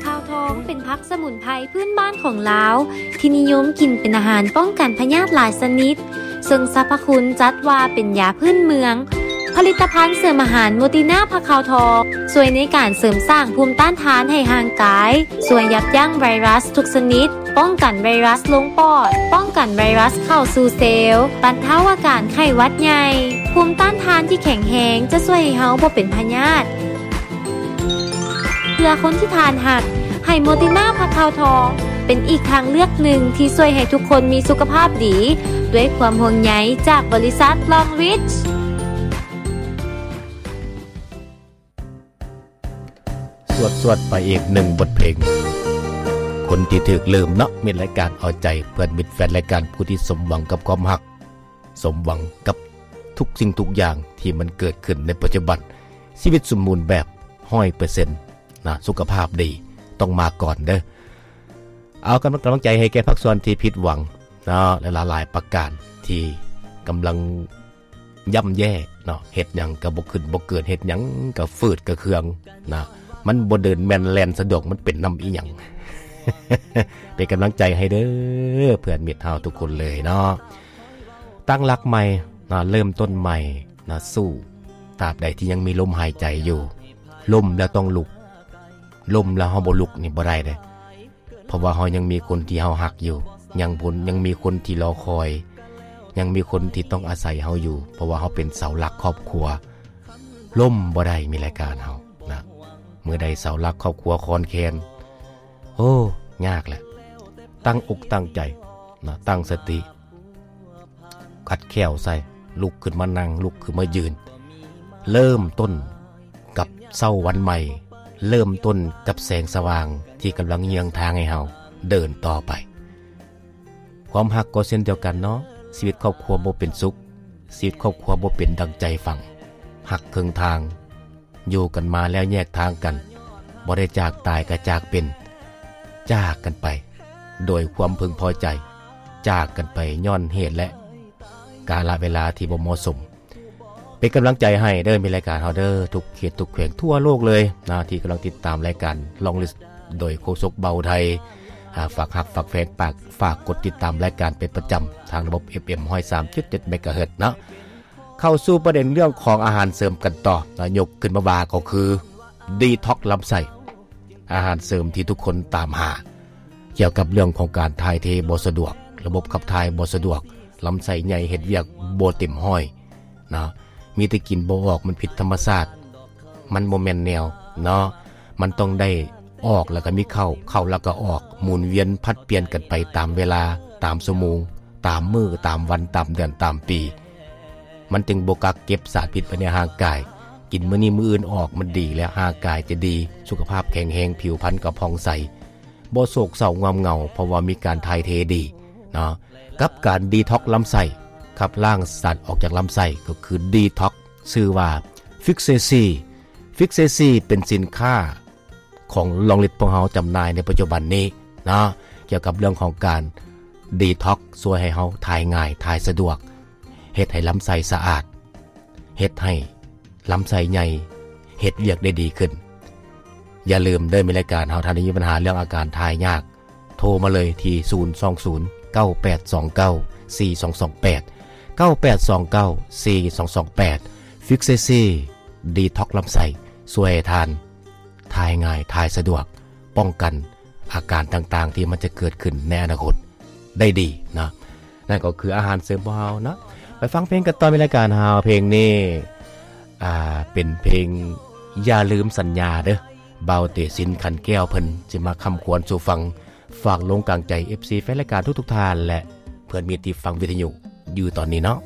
ຂ່າວທອງເປັນຜັກສະໝຸນໄພພື້ນບ້ານຂອງລາວ ທີ່ນິຍົມກິນເປັນອາຫານປ້ອງກັນພະຍາດຫຼາຍຊະນິດ, ເຊິ່ງສັບພະຄຸນຈັດວ່າເປັນຢາພື້ນເມືອງ. ຜະລິດຕະພັນເສີມອາຫານໂມຕິນາຜັກຂ່າວທອງ ຊ່ວຍໃນການເສີມສ້າງພູມຕ້ານທານໃຫ້ຮ່າງກາຍ, ຊ່ວຍຢັບຢັ້ງໄວຣັສທຸກຊະນິດ, ປ້ອງກັນໄວຣັສລົງປອດ, ປ້ອງກັນໄວຣັສເຂົ້າສູ່ເຊວ, ບັນເທົາອາການໄຂ້ຫວັດໃຫຍ່. ພູມຕ້ານທານທີ່ແຂງແຮງຈະຊ່ວຍໃຫ້ເຮົາບໍ່ເປັນພະຍາດ. ເພື່ອຄົນທີ່ທ່ານຮັກ, ໃຫ້ໂມຕິນາຜັກຂ່າວທອງ ເປັນອີກທາງເລືອກໜຶ່ງທີ່ຊ່ວຍໃຫ້ທຸກຄົນມີສຸຂະພາບດີ ດ້ວຍຄວາມຫ່ວງໃຍຈາກບໍລິສັດ Long Reach. ສວດໆ ໄປອີກໜຶ່ງບົດເພງ ຄົນທີ່ຖືກລືມເນາະ ມີລາຍການເອົາໃຈເພື່ອນມິດແຟນລາຍການ ຜູ້ທີ່ສົມຫວັງກັບຄວາມຮັກ ສົມຫວັງກັບທຸກສິ່ງທຸກຢ່າງທີ່ມັນເກີດຂຶ້ນໃນປັດຈຸບັນ ຊີວິດສົມບູນແບບຮ້ອຍເປີເຊັນນະ ສຸຂະພາບດີຕ້ອງມາກ່ອນເດີ້. ເອົາກຳລັງ ກຳລັງໃຈໃຫ້ແກ່ພາກສ່ວນທີ່ຜິດຫວັງເນາະ ຫຼາຍໆ ປະການທີ່ກຳລັງ ຍ່ຳແຍ່ເນາະ ເຮັດຫຍັງກໍບໍ່ຂຶ້ນບໍ່ເກີດ ເຮັດຫຍັງກໍຝືດກະເຄືອງນະ ມັນບໍ່ເດີນແມ່ນແລ່ນສະດວກ ມັນເປັນນຳອີ່ຫຍັງ? ເປັນກຳລັງໃຈໃຫ້ເດີ້ ເພື່ອນມິດເຮົາທຸກຄົນເລີຍເນາະ ຕັ້ງຫຼັກໃໝ່ນະ ເລີ່ມຕົ້ນໃໝ່ນະ ສູ້ ຕາບໃດທີ່ຍັງມີລົມຫາຍໃຈຢູ່ ລົ້ມແລ້ວຕ້ອງລຸກ ລົ້ມແລ້ວເຮົາບໍ່ລຸກນີ້ບໍ່ໄດ້ເດ້. ເພາະວ່າເຮົາຍັງມີຄົນທີ່ເຮົາຮັກຢູ່ ຍັງຄົນ ຍັງມີຄົນທີ່ລໍຄອຍ ຍັງມີຄົນທີ່ຕ້ອງອາໄສເຮົາຢູ່ ເພາະວ່າເຮົາເປັນເສົາຫຼັກຄອບຄົວ ລົ້ມບໍ່ໄດ້ ມີລາຍການເຮົານະ ເມື່ອໃດເສົາຫຼັກຄອບຄົວຄອນແຄນ ໂອ້ ຍາກແຫຼະ ຕັ້ງອົກຕັ້ງໃຈນະ ຕັ້ງສະຕິ ຂັດແຂ້ວໃສ່ ລຸກຂຶ້ນມານັ່ງ ລຸກຂຶ້ນມາຢືນ ເລີ່ມຕົ້ນກັບເຊົ້າວັນໃໝ່ ເລີ່ມຕົ້ນກັບແສງສະຫວ່າງທີ່ກຳລັງເຍືອງທາງໃຫ້ເຮົາເດີນຕໍ່ໄປ. ຄວາມຮັກກໍເຊັ່ນດຽວກັນເນາະ ຊີວິດຄອບຄົວບໍ່ເປັນສຸກ ຊີວິດຄອບຄົວບໍ່ເປັນດັ່ງໃຈຝັງ ຫັກເຄິ່ງທາງ ຢູ່ກັນມາແລ້ວແຍກທາງກັນ ບໍ່ໄດ້ຈາກຕາຍກໍຈາກເປັນ ຈາກກັນໄປໂດຍຄວາມເພິ່ງພໍໃຈ ຈາກກັນໄປຍ້ອນເຫດ ແລະ ກາລະເວລາທີ່ບໍ່ເໝາະສົມ. ເປັນກຳລັງໃຈໃຫ້ເດີ ມີລາຍການເຮົາເດີ ທຸກເຂດທຸກແຂວງທົ່ວໂລກເລີຍນະ ທີ່ກຳລັງຕິດຕາມລາຍການ Long List ໂດຍໂຄສົກເບົາໄທ ອາ ຝາກຮັກຝາກແພງ ຝາກ ຝາກກົດຕິດຕາມລາຍການເປັນປະຈຳ ທາງລະບົບ ເອັຟເອັມ ຮ້ອຍສາມຈຸດເຈັດ ເມກາເຮີດເນາະ. ເຂົ້າສູ່ປະເດັນເລື່ອງຂອງອາຫານເສີມກັນຕໍ່ນະ ຍົກຂຶ້ນມາວ່າກໍຄື ດີທັອກລຳໄສ້ ອາຫານເສີມທີ່ທຸກຄົນຕາມຫາ ກ່ຽວກັບເລື່ອງຂອງການຖ່າຍເທບໍ່ສະດວກ ລະບົບຂັບຖ່າຍບໍ່ສະດວກ ລຳໄສ້ໃຫຍ່ເຮັດວຽກບໍ່ເຕັມຮ້ອຍນະ ມີແຕ່ກິນບໍ່ອອກ ມັນຜິດທຳມະຊາດ ມັນບໍ່ແມ່ນແນວເນາະ ມັນຕ້ອງໄດ້ອອກ ແລ້ວກໍມີເຂົ້າ ເຂົ້າແລ້ວກໍອອກ ໝູນວຽນຜັດປ່ຽນກັນໄປຕາມເວລາ ຕາມຊົ່ວໂມງ ຕາມມື້ ຕາມວັນ ຕາມເດືອນ ຕາມປີ ມັນຈຶ່ງບໍ່ກັກເກັບສານພິດໄວ້ໃນຮ່າງກາຍ ກິນມື້ນີ້ມື້ອື່ນອອກ ມັນດີແລ້ວ ຮ່າງກາຍຈະດີ ສຸຂະພາບແຂງແຮງ ຜິວພັນກໍຜ່ອງໃສ ບໍ່ໂສກເສົ້າງອມເຫງົາ ເພາະວ່າມີການຖ່າຍເທດີເນາະ ກັບການດີທັອກລຳໄສ້ ຂັບລ້າງສານອອກຈາກລຳໄສ້ ກໍຄືດີທັອກ ຊື່ວ່າ ຟິກເຊຊີ ຟິກເຊຊີ ເປັນສິນຄ້າ ຂອງ Long List ພວກເຮົາຈຳໜ່າຍໃນປັດຈຸບັນນີ້ເນາະ ກ່ຽວກັບເລື່ອງຂອງການດີທັອກ ຊ່ວຍໃຫ້ເຮົາຖ່າຍງ່າຍ ຖ່າຍສະດວກ ເຮັດໃຫ້ລຳໄສ້ສະອາດ ເຮັດໃຫ້ລຳໄສ້ໃຫຍ່ ເຮັດວຽກໄດ້ດີຂຶ້ນ. ຢ່າລືມເດີ ມີລາຍການເຮົາ ທ່ານໃດມີບັນຫາເລື່ອງອາການຖ່າຍຍາກ ໂທມາເລີຍທີ່ ສູນສອງສູນ ເກົ້າແປດສອງເກົ້າ ສີ່ສອງສອງແປດ ເກົ້າແປດສອງເກົ້າ ສີ່ສອງສອງແປດ ຟິກເຊຊີ ດີທັອກລຳໄສ້ ຊ່ວຍໃຫ້ທ່ານ ຖ່າຍງ່າຍ ຖ່າຍສະດວກ ປ້ອງກັນອາການຕ່າງໆ ທີ່ມັນຈະເກີດຂຶ້ນໃນອະນາຄົດໄດ້ດີເນາະ. ນັ້ນກໍຄືອາຫານເສີມຂອງເຮົາເນາະ. ໄປຟັງເພງກັນຕໍ່ ມີລາຍການເຮົາ ເພງນີ້ ອ່າ ເປັນເພງຢ່າລືມສັນຍາເດີ ບ່າວເຕຊິນ ຂັນແກ້ວ ເພິ່ນຊິມາຄຳຂວັນສູ່ຟັງ. ຝາກລົງກາງໃຈ ເອັຟຊີ ແຟນລາຍການທຸກໆທ່ານ ແລະ ເພື່ອນມິດທີ່ຟັງວິທະຍຸຢູ່ຕອນນີ້ເນາະ.